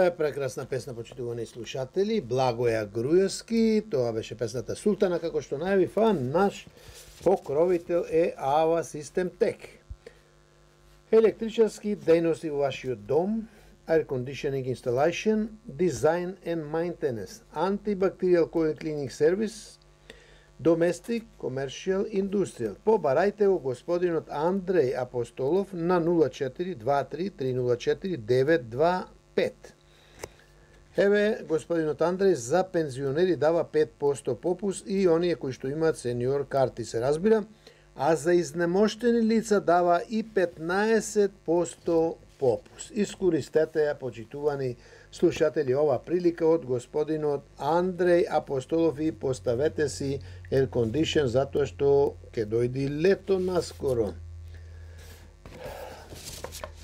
Тоа е прекрасна песна, почитувани слушатели, Благоја Груевски, тоа беше песната Султана, како што најави фан, наш покровител е Ава Систем Тек. Електричарски дејности во вашиот дом, air conditioning installation, design and maintenance, antibacterial coil cleaning service, domestic, commercial, industrial. Побарајте го господинот Андреј Апостолов на 0423-304-925. Еве, господинот Андреј за пензионери дава 5% попус и оние кои што имаат сениор карти, се разбира, а за изнемоштени лица дава и 15% попус. Искористете ја, почитувани слушатели, ова прилика од господинот Андреј Апостолов и поставете си air condition затоа што ќе дојди лето наскоро.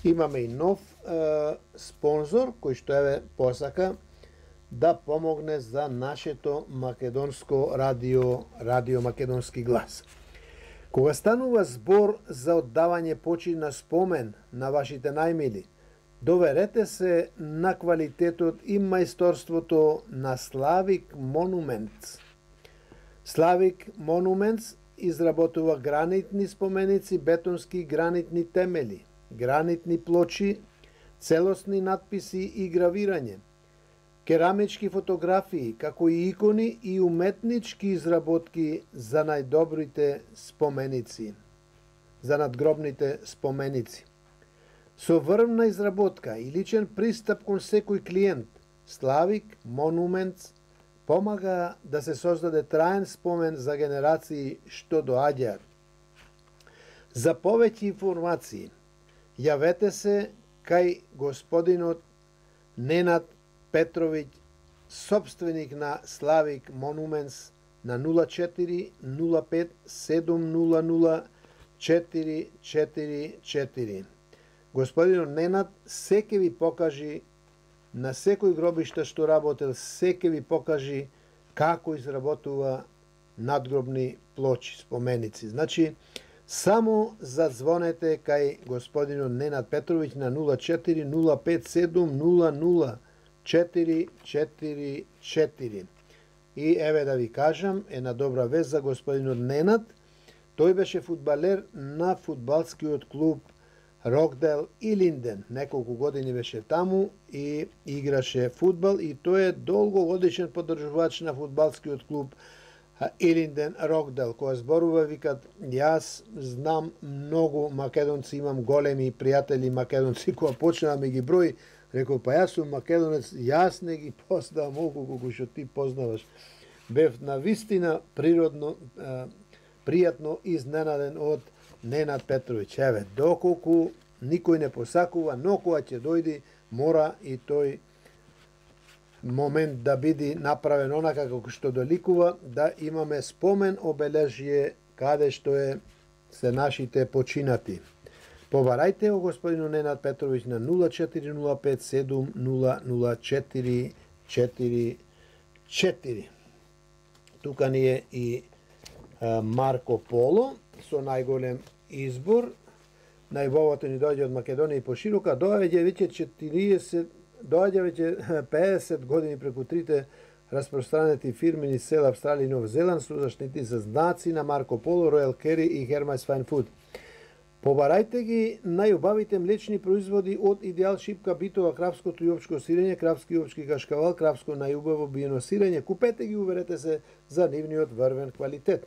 Имаме и нов спонзор кој што еве посака да помогне за нашето македонско радио Македонски глас. Кога станува збор за оддавање почин на спомен на вашите најмили, доверете се на квалитетот и мајсторството на Славик Монументс. Славик Монументс изработува гранитни споменици, бетонски гранитни темели, гранитни плочи, целосни надписи и гравирање, керамички фотографии, како и икони и уметнички изработки за најдобрите споменици, за надгробните споменици. Со врвна изработка и личен пристап кон секој клиент, Славик Монументс помага да се создаде траен спомен за генерации што доаѓаат. За повеќе информации, јавете се кај господинот Ненад Петровиќ, собственик на Славик Монументс, на 04 05 700 444. Господинот Ненад се ќе ви покажи на секој гробиште што работел, се ќе ви покажи како изработува надгробни плочи, споменици. Значи, само задзвонете кај господинот Ненад Петровиќ на 04 05 700 444. И еве да ви кажам, една добра вест за господинот Ненад. Тој беше фудбалер на фудбалскиот клуб Рокдел и Линден. Неколку години беше таму и играше фудбал и тој е долгогодишен поддржувач на фудбалскиот клуб Илинден Рокдел. Која зборува, викат, јас знам многу македонци, имам големи пријатели македонци, која почнаа ми ги брои, рекол, па јас сум македонец, јас не ги познавам многу колку што ти познаваш. Бев на вистина природно, пријатно изненаден од Ненад Петровиќ. Еве, доколку никој не посакува, но кога ќе дојди, мора и тој момент да биде направен онака како што доликува, да имаме спомен обележје каде што се нашите починати. Побарајте го господину Ненад Петровиќ на 0405 700 444. Тука ни е и Марко Поло со најголем избор. Најбовото ни доаѓа од Македонија и поширока. Доаѓа веќе 50 години преку трите распространети фирми низ цела Австралија и Нов Зеланд со заштити за знаци на Марко Поло, Ројал Кери и Хермайс Файн Фуд. Побарајте ги најубавите млечни производи од Идеал Шипка, битова, кравското и овчко сирење, кравски и овчки кашкавал, кравско најубаво биено сирење. Купете ги, уверете се за нивниот врвен квалитет.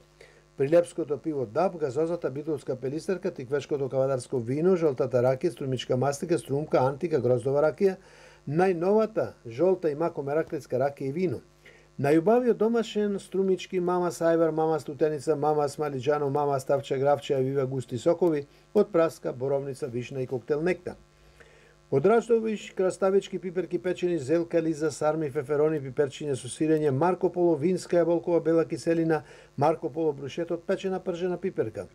Прилепското пиво Даб, газозата битолска пелистерка, тиквешкото кавадарско вино, жолтата ракија, струмичка мастика, струмка, антика, гроздова ракија, најновата жолта и мако мераклетска ракија и вино. Најубавиот домашен струмички мама сајвар, мама стутеница, мама смалиџано, мама ставча гравче, вива густи сокови од праска, боровница, вишна и коктел нектар. Од рачдовиш, краставички, пиперки печени, зелка, лиза, сарми, феферони, пиперчиња со сирење, Марко Поло, винска јаболкова бела киселина, Марко Поло брушет од печена пржена пиперка.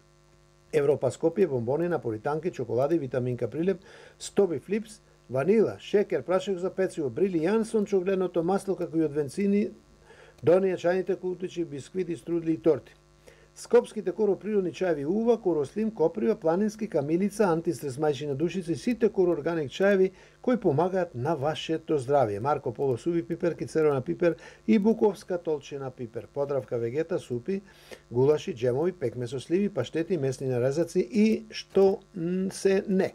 Европа Скопје, бомбони, наполитанки, чоколади, витаминка прилеп, Стоби Флипс, ванила, шекер, прашок за пecivo, Брили Јансон, чогледното масло, како и од венцини, донија чајните кутичи, бисквити, струдли и торти. Скопските короприродни чаеви ува, корослим, коприва, планински, камилица, антистрес мајчина душица и сите короорганик чаеви кои помагаат на вашето здравје. Марко Поло суви пиперки, црвена пипер и буковска толчена пипер. Подравка вегета, супи, гулаши, джемови, пекме со сливи, паштети, месни нарезаци и што се не.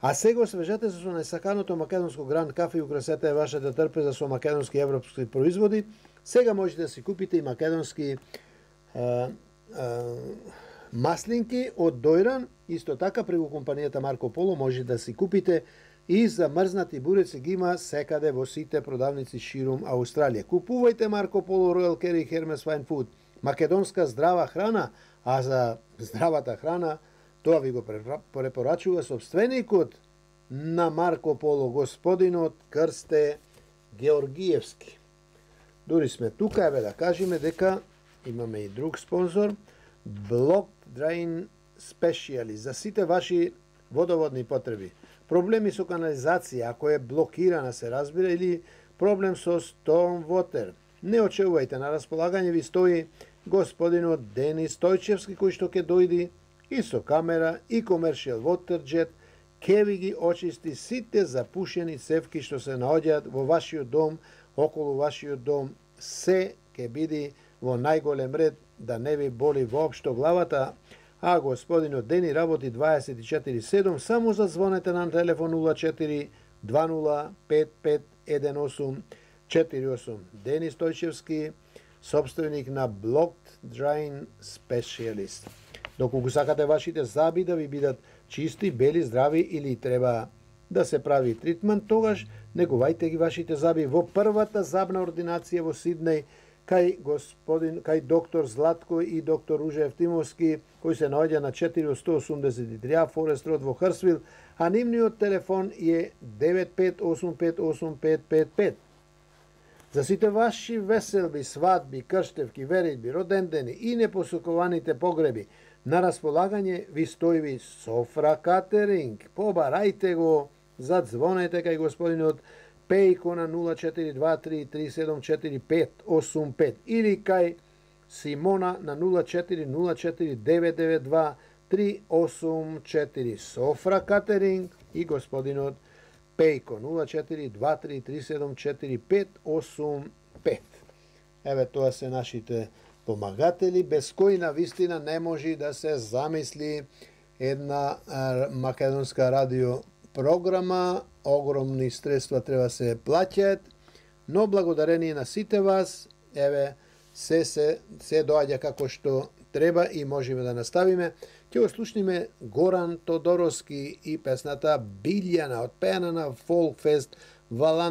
А сега освежете се со најсаканото македонско Гранд кафе и украсете вашата трпеза со македонски и европски производи. Сега можете да си купите и македонски маслинки од Дојран, исто така преку компанијата Марко Поло може да си купите и замрзнати буреци, ги има секаде во сите продавници ширум Аустралија. Купувајте Марко Поло, Ројал Кери и Хермес Фајн Фуд. Македонска здрава храна, а за здравата храна тоа ви го препорачува собственикот на Марко Поло, господинот Крсте Георгиевски. Дури сме тука, еве да кажеме дека имаме и друг спонзор, Blocked Drain Specialist, за сите ваши водоводни потреби. Проблеми со канализација, ако е блокирана, се разбира, или проблем со storm water. Не очекувајте, на располагање ви стои господинот Денис Стојчевски, кој што ќе дојди и со камера и commercial water jet, ке ви ги очисти сите запушени цевки што се наоѓаат во вашиот дом, околу вашиот дом, се ќе биде во најголем ред, да не ви боли воопшто главата, а господинот Дени работи 24/7, само зазвонете на телефон 04 20 55 1848. Дени Стојчевски, собственик на Blocked Drain Specialist. Доколку сакате вашите заби да ви бидат чисти, бели, здрави или треба да се прави тритмент, тогаш негувајте ги вашите заби во првата забна ординација во Сиднеј, кај доктор Златко и доктор Ружа Евтимовски, кој се наоѓа на 483 Форест Род во Хрсвил, а нивниот телефон е 95858555. За сите ваши веселби, свадби, крштевки, веридби, родендени и непосокуваните погреби, на располагање ви стои Софра Катеринг. Побарајте го, задзвонете кај господинот Пејко на 0423374585 или кај Симона на 0404992384. Софра Катеринг и господинот Пејко 0423374585. Еве тоа се нашите помагатели, без кои на вистина не може да се замисли една македонска радио програма. Огромни средства треба се плаќаат, но благодарение на сите вас, еве, се доаѓа како што треба и можеме да наставиме. Ќе го слушниме Горан Тодоровски и песната Билјана, отпеана на Фолкфест Валан